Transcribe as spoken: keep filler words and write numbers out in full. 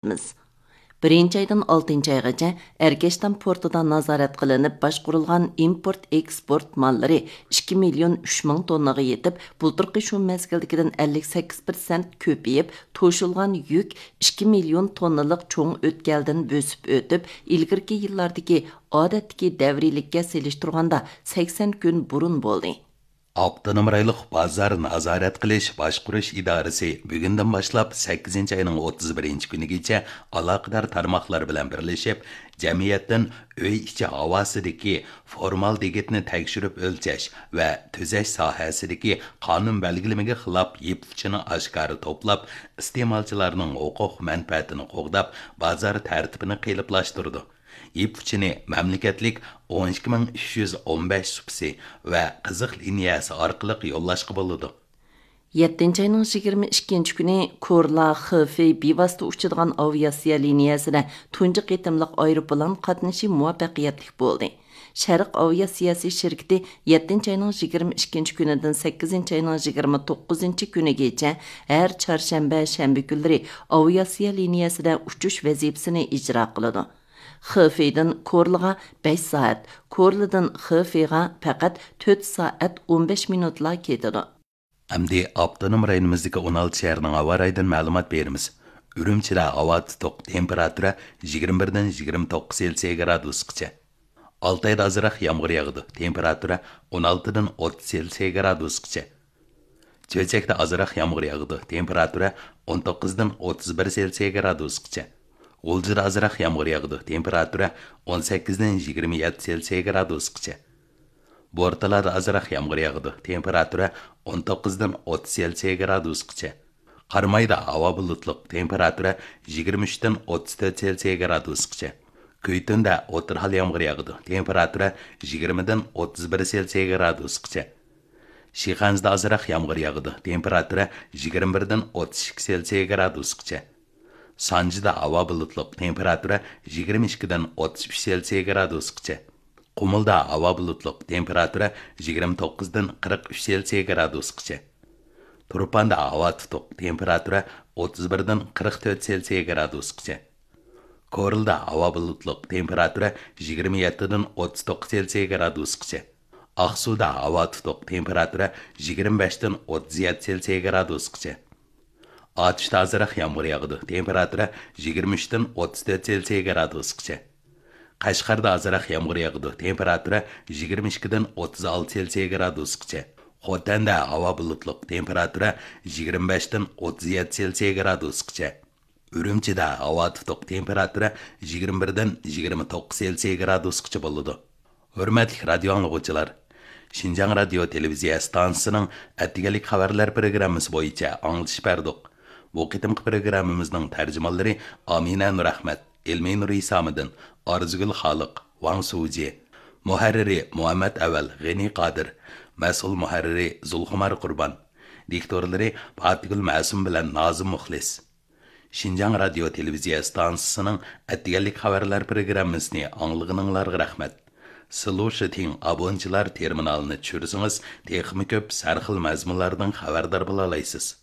بىرىنچى ئايدىن ئالتىنچى ئايغىچە ئەركەشتام پورتىدا نازارەت قىلىنىپ باشقۇرۇلغان ئىمپورت ئېكسپورت ماللىرى ئىككى مىليون ئۈچ مىڭ توننىغا يېتىپ، بۇلتۇرقى شۇ مەزگىلدىكىدىن ئەللىك سەككىز پىرسەنت كۆپىيىپ، توشۇلغان يۈك ئىككى مىليون توننىلىق چوڭ ئۆتكەلدىن بۆسۈپ ئۆتۈپ، ئىلگىرىكى يىللاردىكى ئادەتتىكى دەۋرىيلىككە سېلىشتۇرغاندا سەكسەن كۈن بۇرۇن بولدى. ئاپتونوم رايونلۇق بازار نازارەت قىلىش باشقۇرۇش ئىدارىسى بۈگۈندىن باشلاپ سەككىزىنچى ئاينىڭ ئوتتۇز بىرىنچى كۈنىگىچە ئالاقىدار تارماقلار بىلەن بىرلىشىپ، جەمئىيەتتىن ئۆي ئىچى ھاۋاسىدىكى فورمالدېگىدنى تەكشۈرۈپ ئۆلچەش ۋە تۈزەش ساھەسىدىكى قانۇن بەلگىلىمىگە خىلاپ يىپ ئۇچىنى ئاشكارا توپلاپ، ئىستېمالچىلارنىڭ ھوقۇق مەنپەئەتىنى قوغداپ، بازار تەرتىپىنى قېلىپلاشتۇرىدۇ. يىپ ئۇچىنى مەملىكەتلىك ئون ئىككى مىڭ ئۈچ يۈز ئون بەش سۇپىسى ۋە قىزىق لىنىيەسى ئارقىلىق يوللاشقا بولىدۇ. يەتتىنچى ئاينىڭ يىگىرمە ئىككىنچى كۈنى كورلا خېفېي بىۋاسىتە ئۇچىدىغان ئاۋىئاتسىيە لىنىيەسىدە تۇنجى قېتىملىق ئايروپىلان قاتنىشى مۇۋەپپەقىيەتلىك بولدى. شەرق ئاۋىئاتسىيەسى شىركىتى يەتتىنچى ئاينىڭ يىگىرمە ئىككىنچى كۈنىدىن سەككىزىنچى ئاينىڭ يىگىرمە توققۇزىنچى كۈنىگىچە ھەر چارشەنبە، شەنبە كۈنلىرى ئاۋىئاتسىيە لىنىيەسىدە ئۇچۇش ۋەزىپىسىنى ئىجرا قىلىدۇ. خېفېيدىن كورلىغا بەش سائەت، كورلىدىن خېفېيغا پەقەت تۆت سائەت ئون بەش مىنۇتلا كېتىدۇ. ئەمدى ئاپتونوم رايونىمىزدىكى ئون ئالتە شەھەرنىڭ ھاۋا رايىدىن مەلۇمات بېرىمىز. ئۈرۈمچىدە ھاۋا تۇتۇق، تېمپېراتۇرا يىگىرمە بىردىن يىگىرمە توققۇز سېلسىيە گرادۇسقىچە. ئالتايدا ئازراق يامغۇر ياغىدۇ، تېمپېراتۇرا ئون ئالتىدىن ئوتتۇز سېلسىيە گرادۇسقىچە. چۆچەكتە ئازراق يامغۇر ياغىدۇ، تېمپېراتۇرا ئون توققۇزدىن ئوتتۇز بىر سېلسىيە گرادۇسقىچە. غۇلجىدا ئازراق يامغۇر ياغىدۇ، تېمپېراتۇرا ئون سەككىزدىن يىگىرمە يەتتە سېلسىيە گرادۇسقىچە. بورتالادا ئازراق يامغۇر ياغىدۇ، تېمپېراتۇرا ئون توققۇزدىن ئوتتۇز سېلسىيە گرادۇسقىچە. قارامايدا ھاۋا بۇلۇتلۇق، تېمپېراتۇرا يىگىرمە ئۈچتىن ئوتتۇز تۆت سېلسىيە گرادۇسقىچە. كۈيتۈندە ئوتتۇرا ھال يامغۇر ياغىدۇ، تېمپېراتۇرا يىگىرمىدىن ئوتتۇز بىر سېلسىيە گرادۇسقىچە. شىخەنزىدە ئازراق يامغۇر ياغىدۇ، تېمپېراتۇرا يىگىرمە بىردىن ئوتتۇز ئىككى سېلسىيە گرادۇسقىچە. سانجىدا ھاۋا بۇلۇتلۇق، تېمپېراتۇرا يىگىرمە ئىككىدىن ئوتتۇز ئۈچ سېلسىيە گرادۇسقىچە. قۇمۇلدا ھاۋا بۇلۇتلۇق، تېمپېراتۇرا يىگىرمە توققۇزدىن قىرىق ئۈچ سېلسىيە گرادۇسقىچە. تۇرپاندا ھاۋا تۇتۇق، تېمپېراتۇرا ئوتتۇز بىردىن قىرىق تۆت سېلسىيە گرادۇسقىچە. كورلىدا ھاۋا بۇلۇتلۇق، تېمپېراتۇرا يىگىرمە يەتتىدىن ئوتتۇز توققۇز سېلسىيە گرادۇسقىچە. ئاقسۇدا ھاۋا تۇتۇق، تېمپېراتۇرا يىگىرمە بەشتىن ئوتتۇز يەتتە سېلسىيە گرادۇسقىچە. ئاتۇشتا ئازراق يامغۇر ياغىدۇ، تېمپېراتۇرا يىگىرمە ئۈچتىن ئوتتۇز تۆت سېلسىيە گرادۇسقىچە. قەشقەردە ئازراق يامغۇر ياغىدۇ، تېمپېراتۇرا يىگىرمە ئىككىدىن ئوتتۇز ئالتە سېلسىيە گرادۇسقىچە. خوتەندە ھاۋا بۇلۇتلۇق، تېمپېراتۇرا يىگىرمە بەشتىن ئوتتۇز يەتتە سېلسىيە گرادۇسقىچە. ئۈرۈمچىدە ھاۋا تۇتۇق، تېمپېراتۇرا يىگىرمە بىردىن يىگىرمە توققۇز سېلسىيە گرادۇسقىچە بولىدۇ. ھۆرمەتلىك رادىيو ئاڭلىغۇچىلار! شىنجاڭ رادىيو تېلېۋىزىيە ئىستانسىسىنىڭ ئەتىگەنلىك خەۋەرلەر پروگراممىسى بويىچە ئاڭلىتىش بەردۇق. بۇ قېتىمقى پروگراممىمىزنىڭ تەرجىمانلىرى ئامىنە نۇرئەخمەت، ئىلمىنۇر ئىسامىدىن، ئارزۇگۈل خالىق، ۋاڭ سۇجى. مۇھەررىرى مۇھەممەت ئەۋەل، غېنى قادىر. مەسئۇل مۇھەررىرى زۇلخۇمار قۇربان. دىكتورلىرى پاتىگۈل مەسۇم بىلەن نازىم مۇخلىس. شىنجاڭ رادىيو تېلېۋىزىيە ئىستانسىسىنىڭ ئەتىگەنلىك خەۋەرلەر پروگراممىسىنى ئاڭلىغىنىڭلارغا رەھمەت. سىلۇشىتىڭ ئابونچىلار تېرمىنالىنى چۈشۈرسىڭىز، تېخىمۇ كۆپ سەرخىل مەزمۇنلاردىن خەۋەردار بولالايسىز.